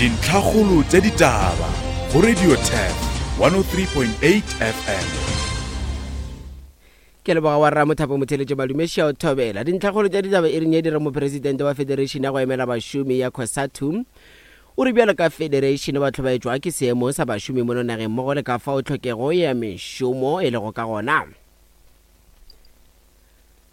Dintlhakgolo tša ditaba go Radio Turf 103.8 FM. Ke leboga wa rra Mothapo Motheletše Madume Shao Thobela. Dintlhakgolo tša ditaba e reng ye dira mopresidente wa Federation ya go emela bašomi ya COSATU o re bjalo ka federation ba hlobaetšwa ke seemo sa bašomi mono nageng mmogo le ka fao tlhokego ya mešomo e lego ka gona.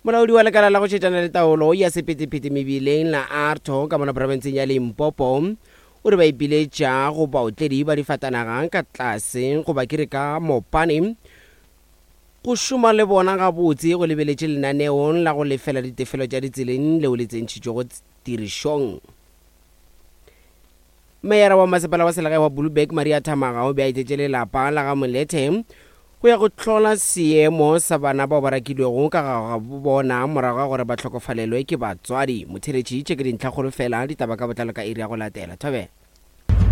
Molaodi wa lekala la go šetšana le taolo ya sephethephethe mebileng la ARTO ka mona profenseng ya Limpopo o re ba ipiletša go baotledi ba difatanaga ka tlase goba ke re ka mopane go šoma le bona gabotse go lebeletše lenaneo la go lefela ditefelo tša ditseleng leo le tsentšhitšwego tirišong. Meyara wa masepala wa selegae wa Bulberg Maria Thamaga o be a etetše lelapa la ga Molethe go ya go hlola seemo sa bana bao ba rakilwego ka ga gabo bona morago ga gore ba hlokofalelwe ke batswadi. Motheeletši, tše ke dintlhakgolo fela, ditaba ka botlalo ka iri ya go latela. Thobela.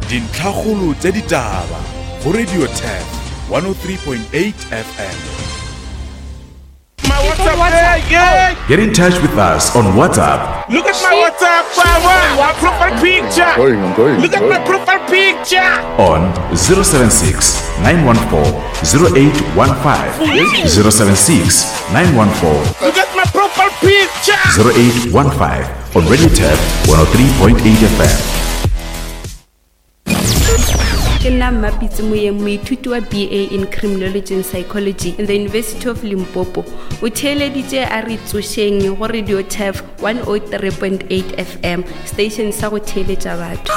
Dintlhakgolo tša ditaba go Radio Turf 103.8 FM. My WhatsApp, hey, hey. Get in touch with us on WhatsApp. Look at my WhatsApp, my profile picture. Going, I'm going. Look at my profile picture. On 076 914 0815. 076 914 Look at my profile picture. 0815 on Radio Tab 103.8 FM. Ke nna Mmapitse Moyeng, moithuti wa BA in Criminology and Psychology in the University of Limpopo. O theeleditše a re tsošeng go Radio Turf 103.8 FM, station sa go theeletša batho.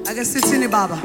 Ake sithini baba.